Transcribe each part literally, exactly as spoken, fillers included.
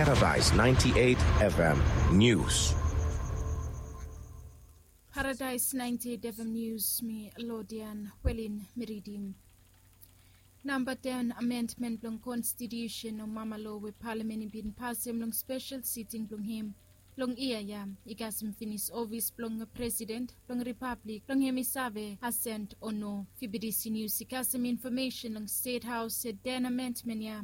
Paradise ninety-eight F M News. Paradise ninety-eight F M News, mi Lodian Welin mi ridim. Namba ten amendment blong konstitusen o mama lo we palamen i bin pasem long spesel siting blong hem long yia ya i kasem finis ofis blong presiden blong ripablik blong hem i save asent o no. Fibidisi nius i kasem infomesen long stet haos se ten amendment ya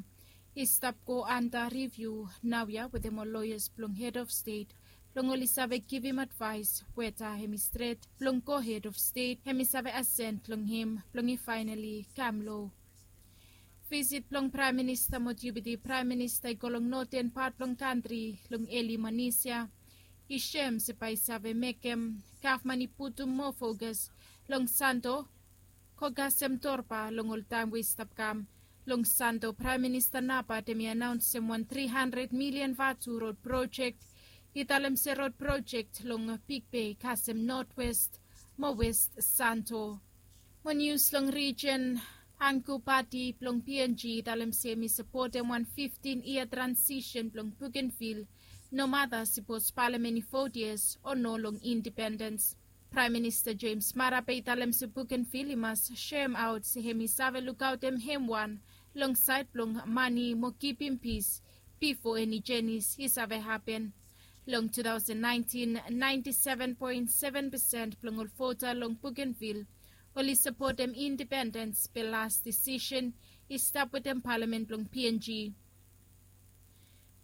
i stap go anda riviu naoia wetem ol loyas blong hed of stet blong oli save givim advaes weta hem i stret blong go hed of stet hem i save asent long hem blong i faenali kam lo. Visit blong praem minista mo diupiti praem minista i go long noten pat blong kantri long eli manis ya i sem se bae i save mekem gavman i putum moa fokas long santo go kasem torpa long ol taem we i stap kam. Long santo praem minista nabat hem i anaonsem wan tri handred milian vatu rod projek i talem se rod projek long big bei kasem notwest mo west santo. Mo nius long rijen angu pati blong png i talem se hem i sapotem wan fiftin yia transisen blong bugenvil nomata sipos palamen i vot yes o no long indipendens. Praem minista jems marape i talem se bugenvil i mas sem aot se hem i save lukaotem hem wan long saed blong mani mo kipim pis bifo eni jenis i save hapen. Long tu taosen naentin naenti seven poen seven pesen blong ol vota long bugenvil oli sapotem indipendens be las disisen i stap wetem palamen blong png.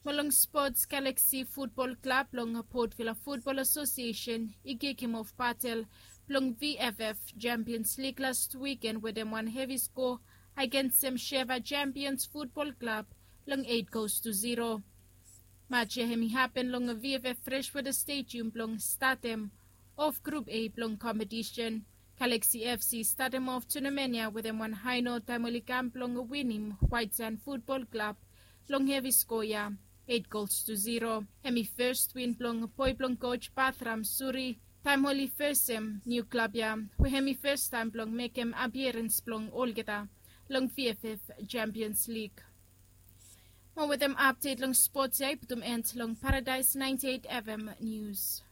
Mo long spots galaksi futbol klab long potvila futbol asosiesen i kikim of batel blong vff jampions lig last wiken wetem wan hevi sko agensem sheva jampions futbol klab long eit gols tu ziro. Maj ya hem i hapen long vff freshwater stedium blong statem of grup a blong kompetisen. Galaksi fc i statem of tunamen ya wetem wan haeno taem oli kam blong winim waetsan futbol klab long hevi skoa ya eit gols tu ziro. Hem i fes win blong boe blong koj bathram suri taem oli fesem niu klab ya we hem i festaem blong mekem apierens blong olgeta long vff jampions lig. Mo wetem apdet long spots ya i putum end long paradaes naenti eit fm nius.